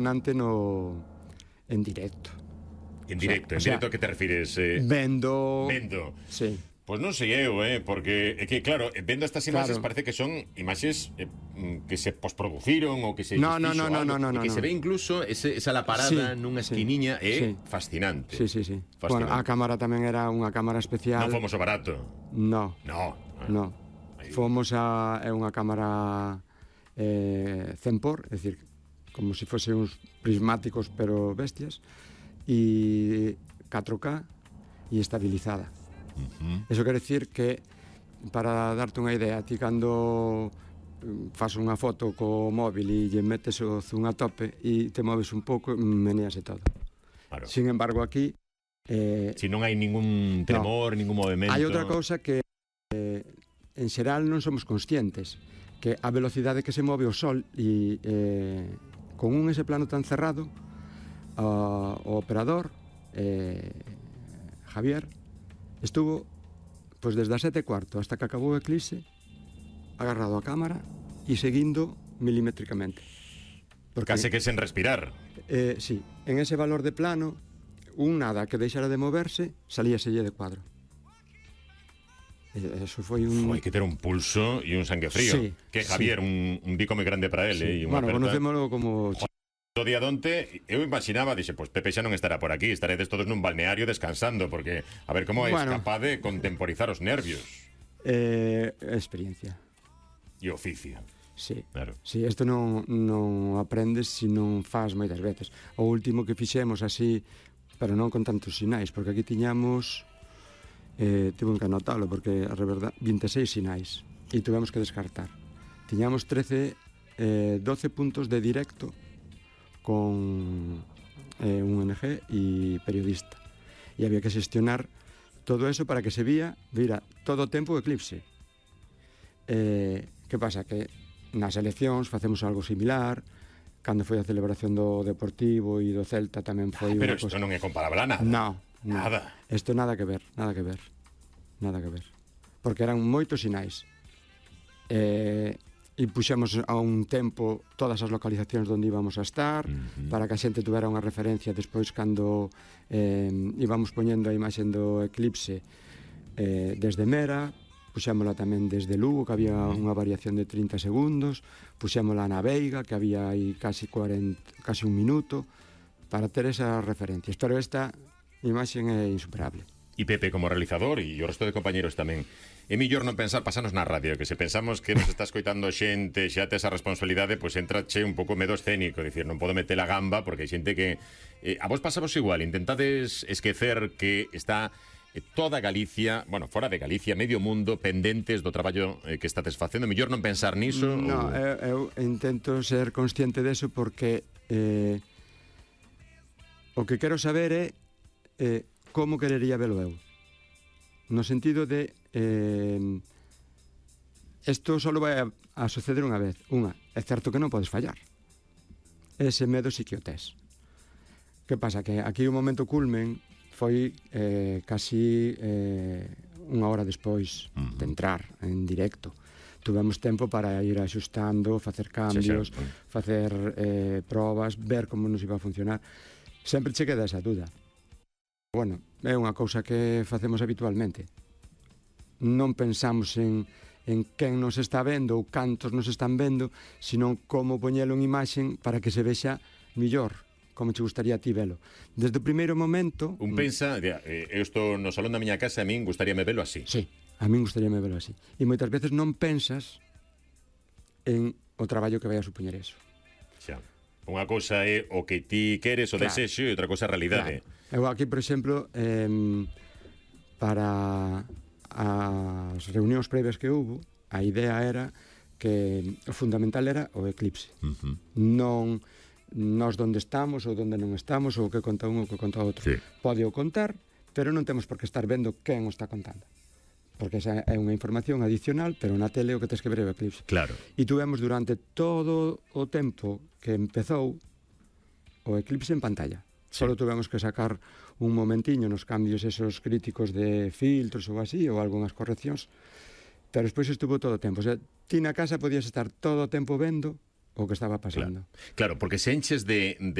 impresionante en directo. En directo, en directo a que te refires? Vendo. Sí. Pois non sei eu, porque é que, claro, vendo estas imaxes parece que son imaxes que se posproduciron ou que se No, que se ve incluso esa laparada nunha esquiniña, fascinante. Sí. Bueno, a cámara tamén era unha cámara especial. Non fomos o barato. No. Fomos é unha cámara 100 por, é dicir, como se fose uns prismáticos pero bestias, e 4K e estabilizada. Eso quere dicir que, para darte unha idea, ti cando faz unha foto co móvil e lle metes o zoom a tope e te moves un pouco, menease todo. Claro. Sin embargo, aquí si non hai ningún tremor, ningún movimento. Hai outra cousa que en xeral non somos conscientes, que a velocidade que se move o sol e con ese plano tan cerrado, o operador Javier estuvo pois desde as 7:15 hasta que acabou o eclipse agarrado a cámara e seguindo milimétricamente. Case que sen respirar. Sí, en ese valor de plano, un nada que deixara de moverse, salíaselle de cuadro. Eso foi Hai que ter un pulso e un sangue frío. Que Javier, un bico moi grande para ele. Bueno, conocémolo como... O día donte, eu imaginaba, dixe, pois Pepe xa non estará por aquí, estaredes todos nun balneario descansando, porque, a ver, como é capaz de contemporizar os nervios? Experiencia. E oficio. Sí, claro. Sí, isto non aprendes se non faz moitas veces. O último que fixemos así, pero non con tantos sinais, porque aquí tiñamos, tivo que anotalo, porque a verdad, 26 sinais, e tuvemos que descartar. Tiñamos 12 puntos de directo, con un ONG e periodista, e había que xestionar todo eso para que se vira todo o tempo o eclipse. Que pasa? Que nas eleccións facemos algo similar, cando foi a celebración do Deportivo e do Celta tamén foi pero isto non é comparable a nada. Nada. Isto nada que ver, porque eran moitos sinais, e puxemos a un tempo todas as localizacións onde íbamos a estar, para que a xente tuvera unha referencia despois cando íbamos poñendo a imaxe do eclipse desde Mera, puxémola tamén desde Lugo, que había unha variación de 30 segundos, puxémola na Veiga, que había aí casi un minuto, para ter esas referencias. Pero esta imaxe é insuperable. E Pepe como realizador e o resto de compañeros tamén, é mellor non pensar pasarnos na radio, que se pensamos que nos está escoitando xente, xa te esa responsabilidade, pois entrache un pouco medo escénico, dicir, non podo meter a gamba, porque hai xente que a vos pasavos igual, intentades esquecer que está toda Galicia, bueno, fora de Galicia, medio mundo, pendentes do traballo que estades facendo. Mellor non pensar niso? No, eu intento ser consciente deso, porque o que quero saber é como querería velo eu, no sentido de isto só vai a suceder unha vez. É certo que non podes fallar, ese medo sí que o tes. Que pasa? Que aquí o momento culmen foi casi unha hora despois de entrar en directo. Tuvemos tempo para ir axustando, facer cambios, facer probas, ver como nos iba a funcionar. Sempre che queda esa duda. Bueno, é unha cousa que facemos habitualmente. Non pensamos en quen nos está vendo ou cantos nos están vendo, senón como poñelo en imaxen para que se vexa millor, como che gustaría a ti velo. Desde o primeiro momento... Un pensa, eu estou no salón da miña casa, a min gustaríame velo así. Sí, a min gustaríame velo así. E moitas veces non pensas en o traballo que vai a supoñer eso. Xa. Unha cousa é o que ti queres, o desexo, e outra cousa é a realidade. Eu aquí, por exemplo, para as reunións previas que houve, a idea era que o fundamental era o eclipse. Non nós onde estamos ou onde non estamos, ou o que conta un ou o que conta outro. Pode o contar, pero non temos por que estar vendo quen o está contando, porque esa é unha información adicional, pero na tele o que tens que ver é o eclipse. Claro. E tuvemos durante todo o tempo que empezou o eclipse en pantalla. Solo tuvemos que sacar un momentiño nos cambios esos críticos de filtros ou así, ou algunhas correccións, pero despois estuvo todo o tempo. O sea, ti na casa podías estar todo o tempo vendo o que estaba pasando. Claro, porque se enches de